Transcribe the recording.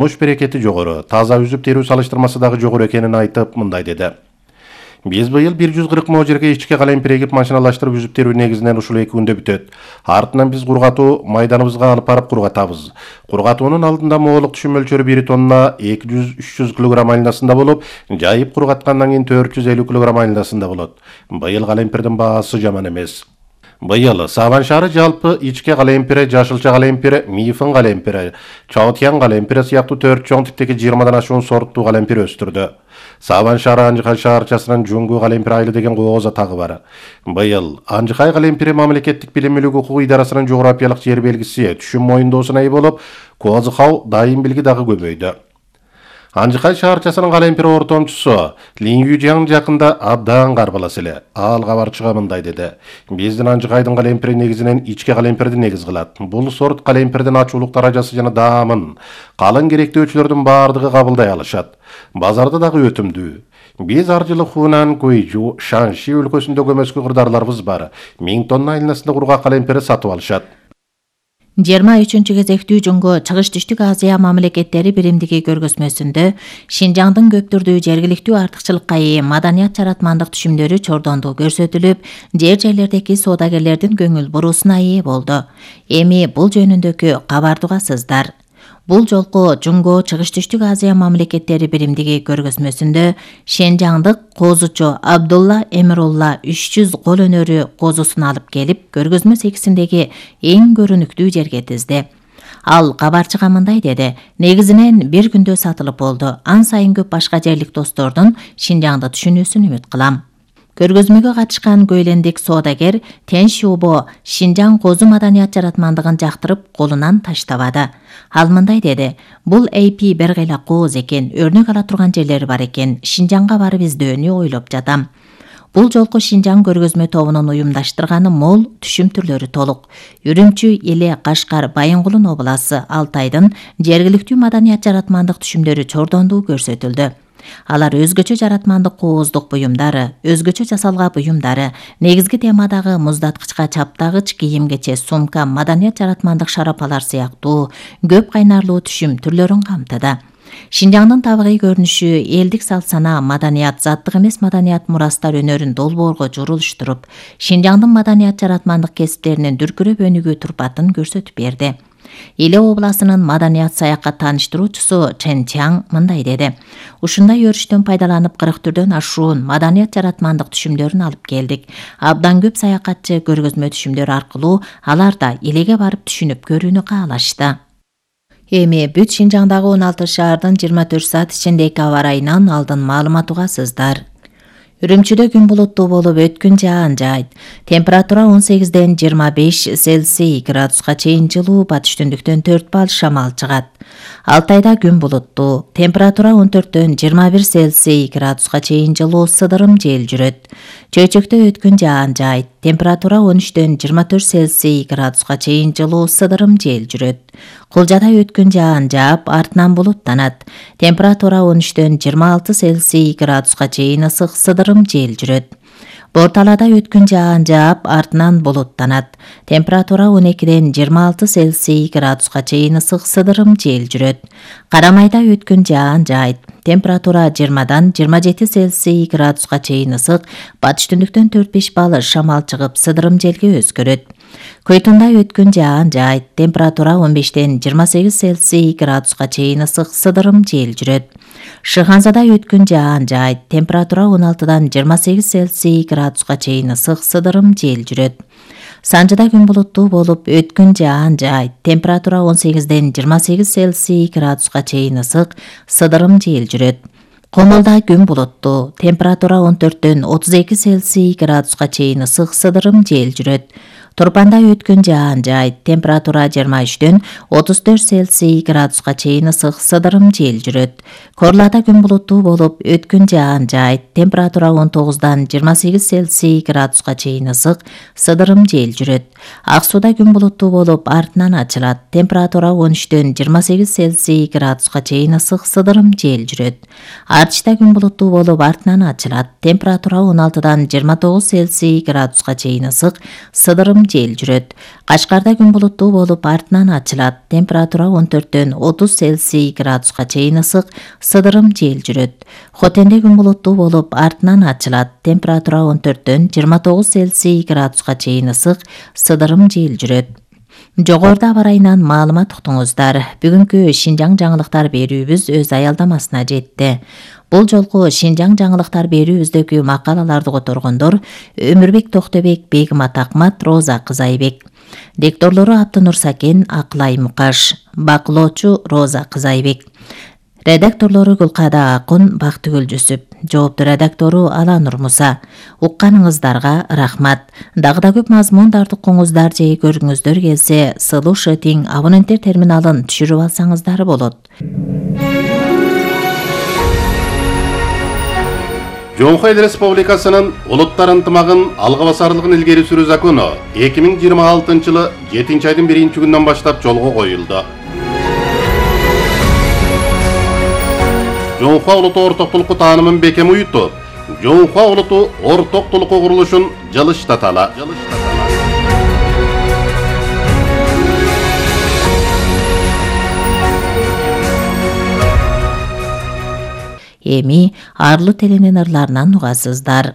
Муш берекети жогору, таза үзүп терүү салыштырмасы дагы жогору экенин айтып, мындай деди. Биз быйыл 140 миң жерге ички калемпир эгип машиналаштырып үзүп терүү негизинен ушул 2 күндө бүтөт. Артынан биз кургатуу майданыбызга алып барып кургатабыз. Кургатуунун алдында моолук түшүм мөлчөрү 1 тонна 200-300 кг айнасында болуп, жайып кургаткандан кийин 450 кг айнасында болот. Быйыл калемпирдин баасы жаман эмес. Быйыл Сабан шаары жалпы ичке калемпири, жашылча калемпири, мифын калемпири, чаотьян калемпири сыяктуу 4 чоң типтеги 20дан ашуун сорттуу калемпир өстүрдү. Сабан шаары Анжыкай шаарчасынын Жуңгу калемпир айылы деген кооз атагы бар. Быйыл Анжыкай калемпири мамлекеттик билим мүлүк укугу идарасынын жогорапиялык жер белгиси түшүм моюндоосуна ээ болуп, Козыкау дайым билги дагы көбөйдү. Анжыкай шаарчасынын калемпир ортомчусу Лин Южяң жакында абдан карбалас эле. Ал кабарчыга мындай деди. Биздин Анжыкайдын калемпири негизинен ичке калемпирди негиз кылат. Бул сорт калемпирдин ачуулук даражасы жана даамын калың керектөөчүлөрдүн баардыгы кабылдай алышат. Базарда дагы өтүмдүү. Биз ар жылы Хунан, Гуйжу, Шанши өлкөсүндө көмөскө кырдаарларыбыз бар. 1000 тонна айнасында кургак калемпирди сатып алышат. 23 кезектүү Жуңгу Чыгыш-Түштүк Азия мамлекеттери биримдиги көргөзмөсүндө Шинжаңдын көп түрдүү жергиликтүү артыкчылыкка ээ маданият жаратмандык түшүмдөрү чордондугу көрсөтүлүп, жер-жерлердеги соодагерлердин көңүл буруусуна ээ болду. Эми бул жөнүндөгү кабарды угасыздар. Бул жолку Жуңгу Чыгыш-Түштүк Азия мамлекеттери биримдиги көргөзмөсүндө Шенжаңдык козучу Абдулла Эмирулла 300 кол өнөрү козусун алып келип, көргөзмө секисиндеги эң көрүнүктүү жерге тизди. Ал кабарчыга мындай деди. Негизинен бир күндө сатылып болду. Ан сайын көп башка жерлик достордун Шинжаңды түшүнүүсүн үмүт кылам. Көргөзмөгө катышкан Көйлендик соодагер Тен Шубо Шинжаң козу маданият жаратмандыгын жактырып колунан таштабады. Ал мындай деди. Бул AP бир кыйла кооз экен, өрнөк ала турган жерлери бар экен. Шинжаңга барып издөөнү ойлоп жатам. Бул жолку Шинжаң көргөзмө тобунун уюмдаштырганы мол, түшүм түрлөрү толук. Үрүмчү, Эле, Кашкар, Байынгулун обласы, Алтайдын жергиликтүү маданият жаратмандык түшүмдөрү чордондугу көрсөтүлдү. Алар өзгөчө жаратмандык кооздук буюмдары, өзгөчө жасалга буюмдары, негизги темадагы муздаткычка чаптагыч, кийимгече, сумка, маданият жаратмандык шарапалар сыяктуу көп кайнарлуу түшүм түрлөрүн камтыды. Шинжаңдын табигый көрүнүшү, элдик салт-сана, маданият, заттык эмес маданият мурастар өнөрүн долбоорго журулуштуруп, Шинжаңдын маданият жаратмандык кесиптеринин дүркүрөп өнүгүү турпатын көрсөтүп берди. Эле областынын маданият саякат тааныштыруучусу Чен Чаң мындай деди. Ушундай өрүштөн пайдаланып 40 түрдөн ашуун маданият жаратмандык түшүмдөрүн алып келдик. Абдан көп саякатчы көргөзмө түшүмдөр аркылуу алар да элеге барып түшүнүп көрүүнү каалашты. Эми бүт Шинжаңдагы 16 шаардын 24 саат ичиндеги аба ырайынан алдын маалымат угасыздар. Үрүмчүдө күн булуттуу болуп, өткүн жаан жаайт. Температура 18ден 25 Цельсий градуска чейин жылуу, батыш түндүктөн 4 балл шамал чыгат. Алтайда күн булуттуу. Температура 14дөн 21 Цельсий градуска чейин жылуу, сыдырым жел жүрөт. Чөйчөктө өткүн жаан жаайт. Температура 13дөн 24 Цельсий градуска чейин жылуу, сыдырым жел жүрөт. Кулжада өткүн жаан жаап, артынан булуттанат. Температура 13дөн 26 Цельсий градуска чейин ысык, сыдырым жел жүрөт. Борталада өткүн жаан жаап, артынан булуттанат. Температура 12ден 26 Цельсий градуска чейин ысык, сыдырым жел жүрөт. Карамайда өткүн жаан жаайт. Температура 20дан 27 Цельсий градуска чейин ысык, батыш түндүктөн 4-5 балл шамал чыгып, сыдырым желге өзгөрөт. Көйтүндө өткүн жаан жаайт. Температура 15ден 28 Цельсий градуска чейин ысык, сыдырым жел жүрөт. Шыханзада өткүн жаан жаайт. Температура 16дан 28 Цельсий градуска чейин ысык, сыдырым жел жүрөт. Санжыда күн булуттуу болуп, өткүн жаан жаайт. Температура 18ден 28 Цельсий градуска чейин ысык, сыдырым жел жүрөт. Комулда күн булуттуу. Температура 14дөн 32 Цельсий градуска чейин ысык, сыдырым жел жүрөт. Турпанда өткүн жаан жаайт. Температура 23дөн 34 Цельсий градуска чейин ысык, сыдырым жел жүрөт. Корлада күн булуттуу болуп, өткүн жаан жаайт. Температура 19дан 28 Цельсий градуска чейин ысык, сыдырым жел жүрөт. Ак сууда күн булуттуу болуп, артынан ачылат. Температура 13-төн 28 Цельсий градуска чейин ысык, сыдырым жел жүрөт. Артышта күн булуттуу болуп, артынан ачылат. Температура 16-дан 29 Цельсий градуска чейин ысык, сыдырым жел жүрөт. Кашкарда күн булуттуу болуп, артынан ачылат. Температура 14-төн 30 Цельсий градуска чейин ысык, сыдырым жел жүрөт. Хотенде күн булуттуу болуп, артынан ачылат. Температура 14-төн 29 Цельсий градуска чейин ысык, сыдырым жел жүрөт. Жогоруда аба ырайынан маалымат уктуңуздар. Бүгүнкү Шинжаң жаңылыктар берүүбүз өз аялдамасына жетти. Бул жолку Шинжаң жаңылыктар берүүбүздөгү макалаларды которгондор Өмүрбек Токтобек, Бегимат Акмат, Роза Кызайбек. Дикторлору Абдынур Сакен, Акылай Мукаш. Бакылоочу Роза Кызайбек. Редакторлору Гүлкада Акун, Бактыгүл Жүсүп. Жоопту редактору Аланур Муса. Укканыңыздарга рахмат. Дагы да көп мазмундарды укуңуздар же көргүңүздөр келсе, сылуу шытиң абоненттер терминалын түшүрүп алсаңыздар болот. Жоңхо Эл Республикасынын улуттар ынтымагын алга басарлыгын илгери сүрүү закону 2026 жылы 7-айдын 1-күнүнөн баштап жолго коюлду. Жоңхо улуту ортоктулукку таанымын бекем уютуп, Жоңхо улуту ортоктулукку курулушун жылыштаталы. Эми арлуу теленин ырларынан угасыздар.